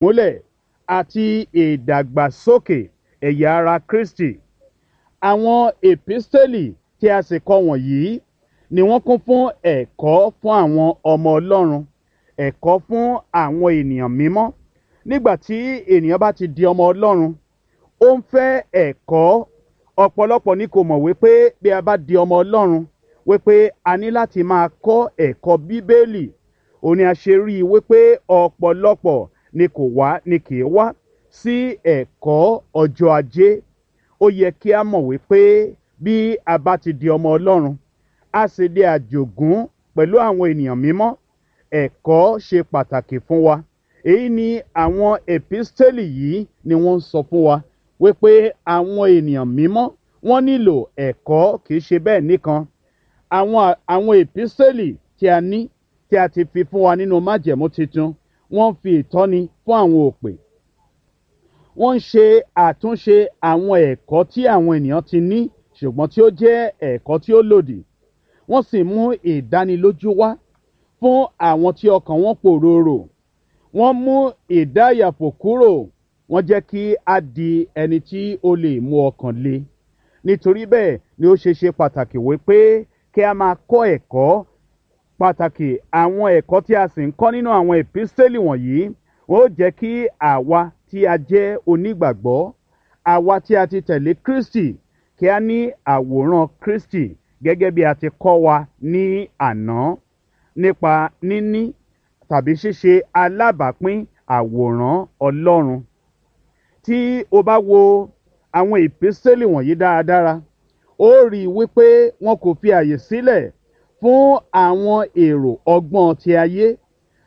Múlẹ̀ àti ìdàgbàsókè ẹ̀yà ara Kristi. Àwọn èpísítélì tí a sì kọ wọ̀nyí ni wọ́n kún fún ẹ̀kọ́ fún àwọn ọmọ Ọlọ́run, ẹ̀kọ́ fún àwọn ènìyàn mímọ́. Nígbà tí ènìyàn bá ti di ọmọ Ọlọ́run, ó ń fẹ́ ẹ̀kọ́. Ọ̀pọ̀lọpọ̀ ni kò mọ̀ wípé bí a bá di ọmọ Ọlọ́run, wípé a ní láti máa kọ́ ẹ̀kọ́ Bíbélì. Òun ni a ṣe rí i wípé ọ̀pọ̀lọpọ̀ ni kò wá ni kì í wá sí ẹ̀kọ́ ọjọ́ Ajé. Ó yẹ kí a mọ̀ wípé bí a bá ti di ọmọ Ọlọ́run, a sì di àjògún pẹ̀lú àwọn ènìyàn mímọ́. Ẹ̀kọ́ ṣe pàtàkì fún wa. Èyí ni àwọn èpísítélì yìí ni wọ́n ń sọ fún wa wípé àwọn ènìyàn mímọ́ wọ́n nílò ẹ̀kọ́. Kìí ṣe bẹ́ẹ̀ nìkan. Àwọn èpísítélì tí a ní, tí a ti fi fún wa nínú májẹ̀mú titun, wọ́n ń fi ìtọ́ni fún àwọn òpè. Wọ́n ń ṣe àtúnṣe àwọn ẹ̀kọ́ tí àwọn ènìyàn ti ní ṣùgbọ́n tí ó jẹ́ ẹ̀kọ́ tí ó lòdì. Wọ́n sì mú ìdánilójú wá fún àwọn tí ọkàn wọn pòròrò. Wọ́n mú ìdáyàfò kúrò. Wọ́n jẹ́ kí a di ẹni tí ó lè mú ọkàn le. Nítorí bẹ́ẹ̀ ni ó ṣe ṣe pàtàkì wípé kí a máa kọ́ ẹ̀kọ́ pàtàkì. Àwọn ẹ̀kọ́ tí a sì ń kọ́ nínú àwọn èpísítélì wọ̀nyí, ó jẹ́ kí àwa tí a jẹ́ onígbàgbọ́, àwa tí a ti tẹ̀lé Kristi, kí a ní àwòrán Kristi gẹ́gẹ́ bí a ti kọ́ wa ní àná nípa níní tàbí ṣíṣe alábàápín àwòrán Ọlọ́run. Tí o bá wo àwọn èpísítélì wọ̀nyí dáradára, ó rí i wípé wọn kò fi àyè sílẹ̀ fún àwọn èrò ọgbọ́n ti ayé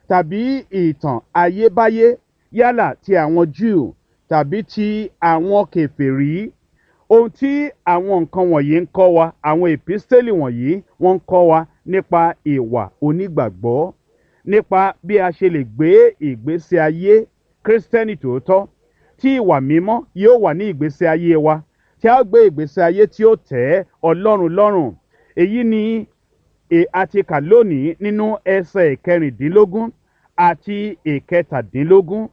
tàbí ìtàn ayébáyé, yálà ti àwọn Júù tàbí ti àwọn kèfèrí. Ohun tí àwọn nǹkan wọ̀nyí ń kọ́ wa, àwọn èpísítélì wọ̀nyí wọ́n ń kọ́ wa nípa ìwà onígbàgbọ́, nípa bí a ṣe lè gbé ìgbésí ayé Kírísítẹ́nì tòótọ́, tí ìwà mímọ́ yóò wà ní ìgbésí ayé wa, tí a ó gbé ìgbésí ayé tí ó tẹ́ Ọlọ́run lọ́rùn. Èyí ni a ti kà lónìí nínú ẹsẹ̀ ìkẹrìndínlógún àti ìkẹtàdínlógún.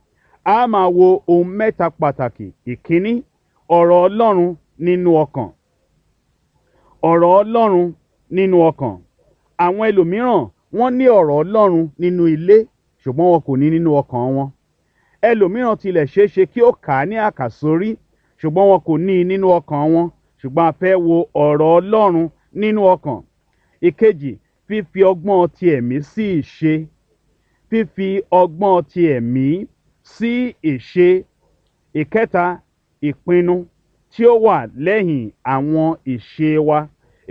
A máa wo ohun mẹ́ta pàtàkì. Ìkíní, ọ̀rọ̀ Ọlọ́run nínú ọkàn. Ọ̀rọ̀ Ọlọ́run nínú ọkàn. Àwọn ẹlòmíràn wọ́n ní ọ̀rọ̀ Ọlọ́run nínú ilé, ṣùgbọ́n wọn kò ní nínú ọkàn wọn. Ẹlòmíràn tilẹ̀ ṣeé ṣe kí ó kà á ní àkàsórí, ṣùgbọ́n wọn kò ní i nínú ọkàn wọn. Ṣùgbọ́n a fẹ́ wo ọ̀rọ̀ Ọlọ́run nínú ọkàn. Ìkejì, fífi ọgbọ́n ti ẹ̀mí sí ìṣe. Fífi ọgbọ́n ti ẹ̀mí sí ìṣe. Ìkẹta, ìpinnu tí ó wà lẹ́yìn àwọn ìṣe wa.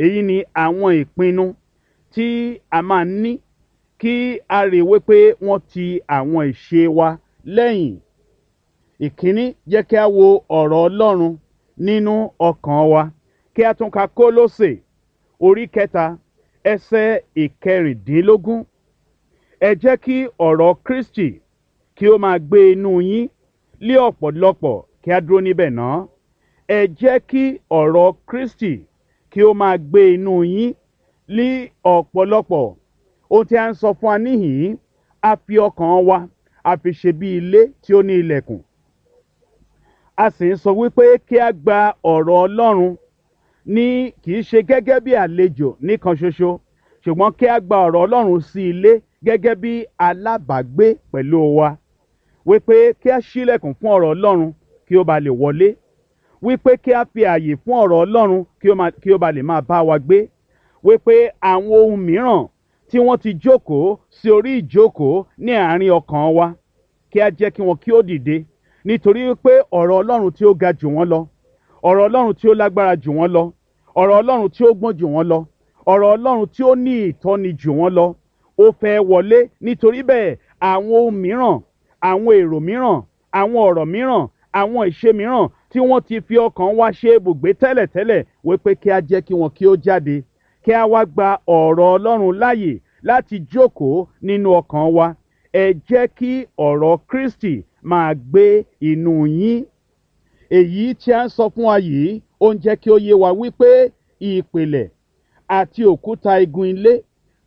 Èyí ni àwọn ìpinnu tí a máa ní kí a rí wípé wọ́n ti àwọn ìṣe wa lẹ́yìn. Ìkíní, jẹ́ kí a wo ọ̀rọ̀ Ọlọ́run nínú ọkàn wa. Kí a tún ka Kólósè orí 3, ẹsẹ̀ ìkẹrìndínlógún. Ẹ jẹ́ kí ọ̀rọ̀ Kristi kí ó máa gbé inú yín lé ọ̀pọ̀lọpọ̀. Kí a dúró níbẹ̀ náà. Ẹ jẹ́ kí ọ̀rọ̀ Kristi kí ó máa gbé inú yín lé ọ̀pọ̀lọpọ̀. Ohun tí a ń sọ fún wa níhìn-ín, a fi ọkàn wa, a fi ṣe bí ilé tí ó ní ilẹ̀kùn. A sì ń sọ wípé kí a gba ọ̀rọ̀ Ọlọ́run ní kì í ṣe gẹ́gẹ́ bí àlejò nìkan ṣoṣo, ṣùgbọ́n kí a gba ọ̀rọ̀ Ọlọ́run sí ilé gẹ́gẹ́ bí alábàágbé pẹ̀lú wa. Wípé kí a ṣílẹ̀kùn fún ọ̀rọ̀ Ọlọ́run kí ó ba lè wọlé. Wípé kí a fi ààyè fún ọ̀rọ̀ Ọlọ́run kí ó ba lè máa bá wa gbé. Wípé àwọn ohun mìíràn tí wọ́n ti jókòó sí orí ìjókòó ní àárín ọkàn wa, kí a jẹ́ kí wọn kí ó dìde. Nítorí wípé ọ̀rọ̀ Ọlọ́run tí ó ga jù wọ́n lọ, ọ̀rọ̀ Ọlọ́run tí ó lágbára jù wọ́n lọ, ọ̀rọ̀ Ọlọ́run tí ó gbọ́n jù wọ́n lọ, ọ̀rọ̀ Ọlọ́run tí ó ní ìtọ́ni jù wọ́n lọ, ó fẹ́ wọlé. Nítorí bẹ́ẹ̀, àwọn ohun mìíràn, àwọn èrò mìíràn, àwọn ọ̀rọ̀ mìíràn, àwọn ìṣe mìíràn tí wọ́n ti fi ọkàn wa ṣe ibùgbé tẹ́lẹ̀tẹ́lẹ̀, wípé kí a jẹ́ kí wọn kí ó jáde, kí a wá gba ọ̀rọ̀ Ọlọ́run láàyè láti jókòó nínú ọkàn wa. Ẹ jẹ́ kí ọ̀rọ̀ Kristi máa gbé inú yín. Èyí tí a ń sọ fún wa yìí, ó ń jẹ́ kí ó yé wa wípé ìpìlẹ̀ àti òkúta igun ilé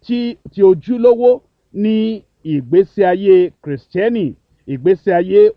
tí ojúlówó ní ìgbésí ayé Kìrìsìtẹ́nì, ìgbésí ayé